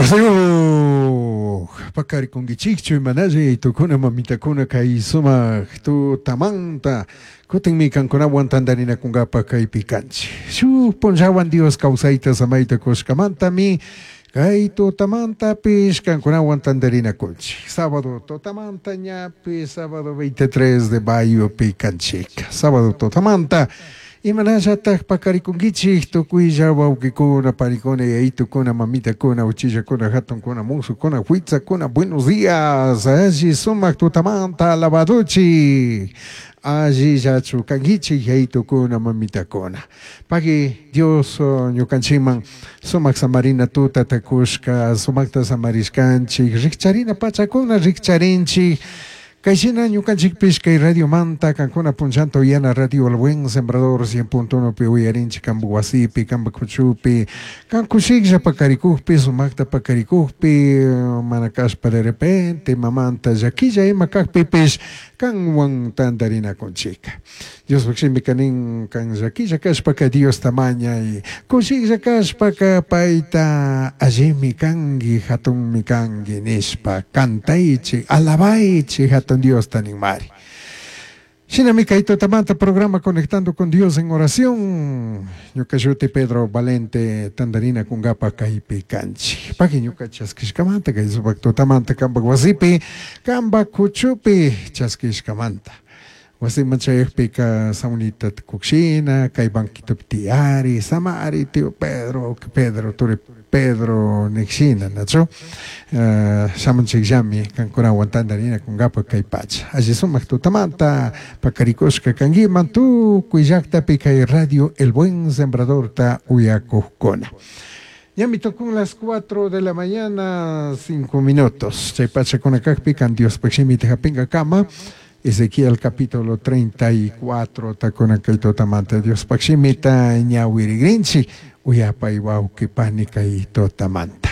Wasiyuq paqarikunkichikchu imanalli yayitukuna mamitakuna kay sumak tutamanta kutinmi kankunawan tantarinakunkapa kaypi kanchik. Shuk punllawan Dios kawsayta samayta kushkamantami kay tutamantapish kankunawan tantarinakunchik. Sábado tutamanta ñapi sábado 23 de mayopi kanchik. Sábado tutamanta imanallataj paqarikunkichik tukuylla wawqikuna, panikuna, yayitukuna, mamitakuna, uchillakuna, hatunkuna, musukuna, huitzakuna, buenos días, alli sumak tutamanta alabaduchik, allillachu kankichik yayitukuna, mamitakuna. Pagui Dios ñukanchikman sumak samarina tutata kushka, sumakta samarishkanchik, rikcharina pachakuna rikcharinchik, Kayshina ñukanchikpish kay radiomanta kankuna punllanta uyana Radio El Buen Sembrador 100.1 pi uyarinchik kanpak wasipi, kanpak kuchupi, kan kushiklla pakarikukpi, sumakta pakarikukpi, mana kashpa de repente mamanta llakilla ima kakpipish kanwan tantarinakunchika. Diospaj shimika nin kan llakilla kashpaka Diosta mañay, kushiklla kashpaka payta allimi kanki, hatunmi kanki nishpa cantaychik, alabaychik hatun Diosta ninmari. Shinami kay tutamanta programa Conectando con Dios en Oración. Ñuka shuti Pedro Valente tantarina kunkapa kaypi kanchik. Pagui ñuka chaskishkamanta kay supak tutamanta kanpak wasipi, kanpak kuchupi chaskishkamanta. Wasiman chayakpika saunita kukshina, kay banquitopi tiyari, samari tío Pedro, Pedro, turi Pedro nikshina, nachu? Shamunchikllami kankunawan tantarina kunkapa kay pacha. Alli sumak tutamanta pakarikushka kankiman tukuy llaktapi kay Radio El Buen Sembradorta uyakukkuna. Ñami tukun las 4 de la mañana, 5 minutos. Chay pachakuna kakpi kan Diospaj shimita hapinkakama. Ezequiel capítulo 34 takuna kay tutamanta Diospaj shimita ñawirigrinchik uyapay wawqi pani kay tutamanta.